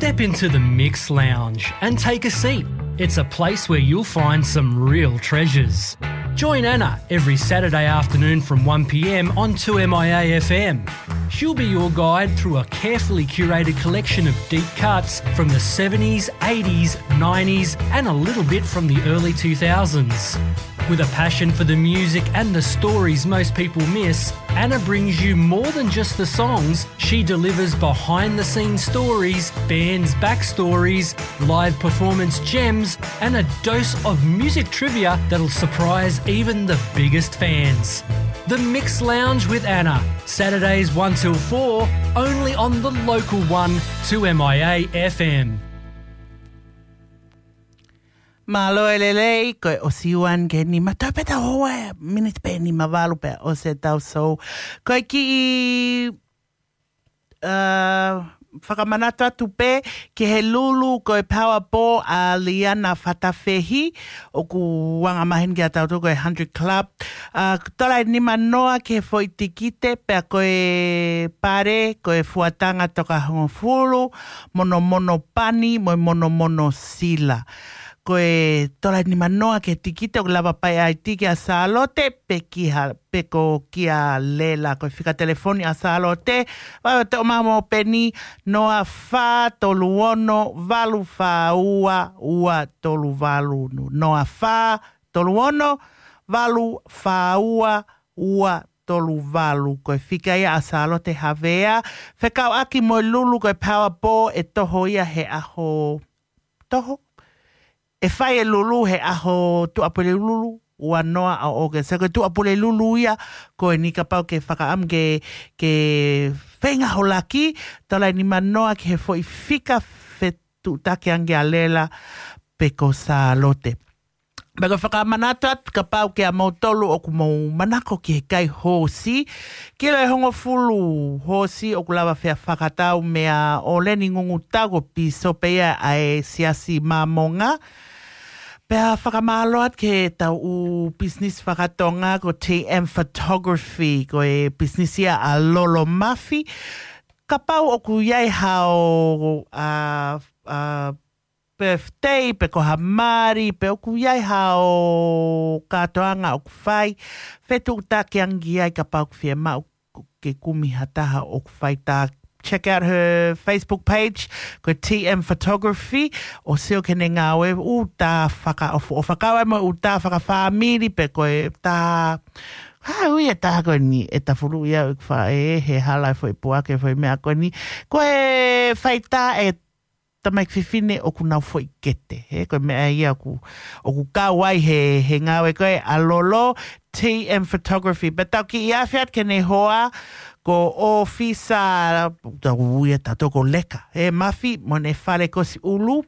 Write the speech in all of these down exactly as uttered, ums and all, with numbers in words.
Step into the Mix Lounge and take a seat. It's a place where you'll find some real treasures. Join Anna every Saturday afternoon from one p.m. on two M I A F M. She'll be your guide through a carefully curated collection of deep cuts from the seventies, eighties, nineties, and a little bit from the early two thousands. With a passion for the music and the stories most people miss, Anna brings you more than just the songs. She delivers behind-the-scenes stories, bands' backstories, live performance gems, and a dose of music trivia that'll surprise even the biggest fans. The Mix Lounge with Anna, Saturdays one till four, only on the local one, two M I A F M. Mālō e lelei, ko e ʻosi uan ke nima tau pē tau hoa, miniti pē nima valu pea ʻosi ʻetau sou. Ko e kiʻi, uh, fakamanatu atu pē ki he lulu ko e Power Ball ʻa Liana Fatafehi, ʻoku anga maheni kiate kitautolu ko e Hundred Club. Uh, tola ʻe nima noa ki he foʻi tikite pea ko e pale, ko e fuatanga toka hongofulu, monomono pani, mo e monomono sila. Ko e tola ʻe nima noa ki he tikite ʻoku lava ʻo ʻai tiki ʻa Sālote pe ki ha, pe ko kia Lela. Ko e fika telefoni ʻa Sālote, vaʻe te o mamo peni, noa fā tolu ono valu fā ua ua tolu valu. Noa fā tolu ono valu fā ua ua tolu valu. Ko e fika ia ʻa Sālote Havea, fekauʻaki mo e lulu ko e Power Ball ʻe toho ia he ʻaho toho. ʻE fai e lulu he ʻaho Tuʻapulelulu ua noa ʻo ʻAugust. Ko e Tuʻapulelulu ia, ko eni kapau ke fakaʻamu ke, ke feinga ho laki, tola ʻe nima noa ki he foʻi fika fetuʻutaki ange ʻa Lela pe ko Sālote. Pea ko e fakamanatu atu kapau kia moutolu ʻoku mou manako ki he kai hoosi, kilo ʻe hongofulu hoosi ʻoku lava fea fakatau meia ʻOleni Ngungutau, ko e pīsope ia ʻa e Siasi Māmonga. Pea fakamālō atu ki heʻetau ʻū business fakatonga ko T M Photography, ko e business ia ʻa Lolo Mafi. Kapau ʻoku ʻi ai hao, a, a, birthday, pe ko ha mali, pe ʻoku ʻi ai hao kātoanga ʻoku fai, fetuʻutaki ange ai kapau ʻoku fiemaʻu ke kumi ha taha ʻoku fai tā. Check out her Facebook page, ko T M Photography, ʻo sio ki heʻene ngāue, ʻū tā fakaʻofoʻofa, kau ai mo e ʻū tā fakafāmili pe ko e tā, ha ui e tā ko eni, ʻe tafulu ia ʻeku faʻē, he hala e foʻi puake, foʻi meʻa ko eni. Ko e fai tā ʻe tamaiki fefine ʻoku nau foʻi kete, he ko e meʻa ia ʻoku, ʻoku kau ai he, he ngāue ko ē ʻa Lolo, T M Photography. Pea tau kiʻi afe atu ki heʻene hoa, ko ʻofisa, tau ui ʻe tautolu ko Leka, he Mafi, mo ʻene fale Kosiʻulu,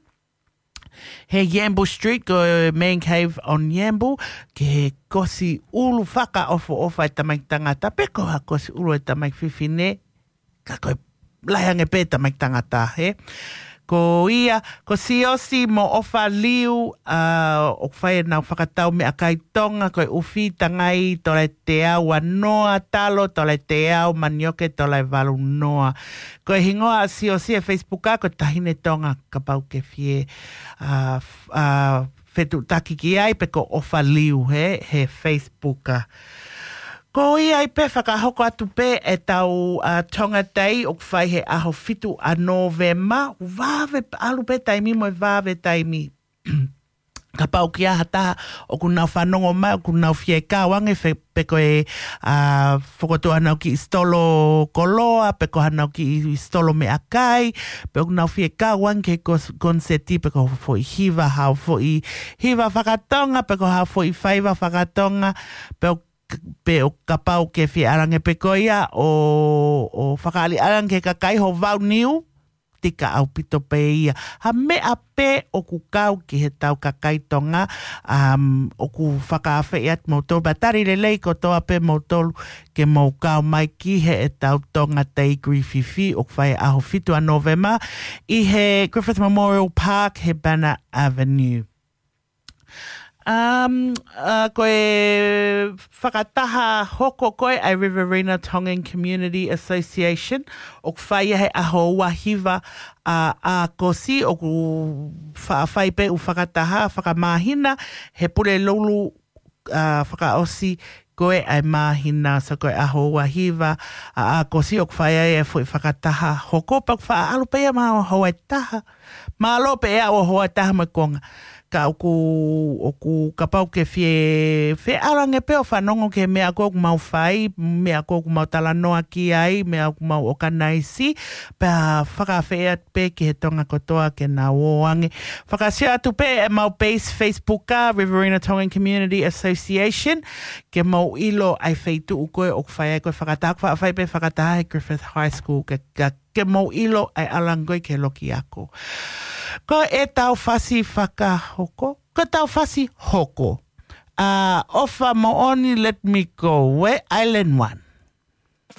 he Yambu Street, ko e Man Cave on Yambu, ki he Kosiʻulu fakaʻofoʻofa e tamaiki tangata, pe ko ha Kosiʻulu e tamaiki fefine, ka ko e lahi ange pē tamaiki tangata, he. Ko ia, ko Siosi mo ʻOfa Liu, a, ʻoku fai ʻenau fakatau meʻakai Tonga, ko e ʻufi tangai, tola ʻe teau ua noa, talo, tola ʻe teau, manioke, tola ʻe valu noa. Ko e hingoa ʻa Siosi he Facebook, a, ko Tahine Tonga, kapau ke fie, a, f-, a, fetuʻutaki ki ai, pe ko ʻOfa Liu he, he Facebook, a. Ko ia ai pē fakahoko atu pē ʻetau, a, Tonga Day ʻoku fai he ʻaho fitu ʻa Nōvema, vave, ʻalu pē taimi mo e vave taimi. Kapau ʻoku ʻi ai ha taha ʻoku nau fanongo mai, ʻoku nau fie kau ange fe-, pe ko e, a, fokotuʻu haʻanau kiʻi sitolo koloa, pe ko haʻanau kiʻi sitolo meʻakai, pe ʻoku nau fie kau ange ki he kos-, koniseti, pe ko ha foʻi hiva, ha foʻi hiva fakatonga, pe ko ha foʻi faiva fakatonga, pe ʻo, pe ʻo kapau ke fie ʻalu ange pē ko ia ʻo, ʻo fakaʻaliʻali ange ki he kakai ho vau niu, tika ʻaupito pē ia. Ha meʻa pē ʻoku kau ki heʻetau kakai Tonga, um, ʻoku fakaafeʻi atu moutolu, pea tali lelei kotoa pē moutolu ke mou kau mai ki heʻetau Tonga Day Griffith, ʻoku fai ʻaho fitu ʻa Nōvema, ʻi he Griffith Memorial Park, he Banner Avenue. Um, uh, ko e fakataha hoko ko ē ʻa e Riverina Tongan Community Association, ʻoku fai ia he ʻaho ua hiva ʻa ʻAokosi, ʻoku fa-, fai pē ʻū fakataha fakamāhina he Pulelulu, uh, fakaʻosi ko ē ʻa e māhina, so ko e ʻaho ua hiva ʻa ʻAokosi ʻoku fai ai e foʻi fakataha hoko, pea ʻoku faʻa ʻalu pē ia mei he houa ʻe taha. Mālō pē ʻa e houa ʻe taha mo e konga. Ka ʻoku, ʻoku kapau ke fie, fie ʻalu ange pē ʻo fanongo ki he meʻa ko ē ʻoku mau fai, meʻa ko ē ʻoku mau talanoa ki ai, meʻa ʻoku mau ʻokanaisi, pea fakafeʻao pē ki he Tonga kotoa ke nau ō ange. Fakasio atu pē ʻemau page Facebook ʻa Riverina Tongan Community Association, ke mau ʻilo ʻa e feituʻu ko ē ʻoku fai ai ko ē fakataha, ʻoku faʻa fai pē fakataha he Griffith High School, ke, ke, ke mau ʻilo ʻa e ʻalu ange ko ē ki he loki ako. Ko ʻetau fasi fakahoko, ko ʻetau fasi hoko. ʻA, ʻOfa Moʻoni, Let Me Go, ʻa e Island One.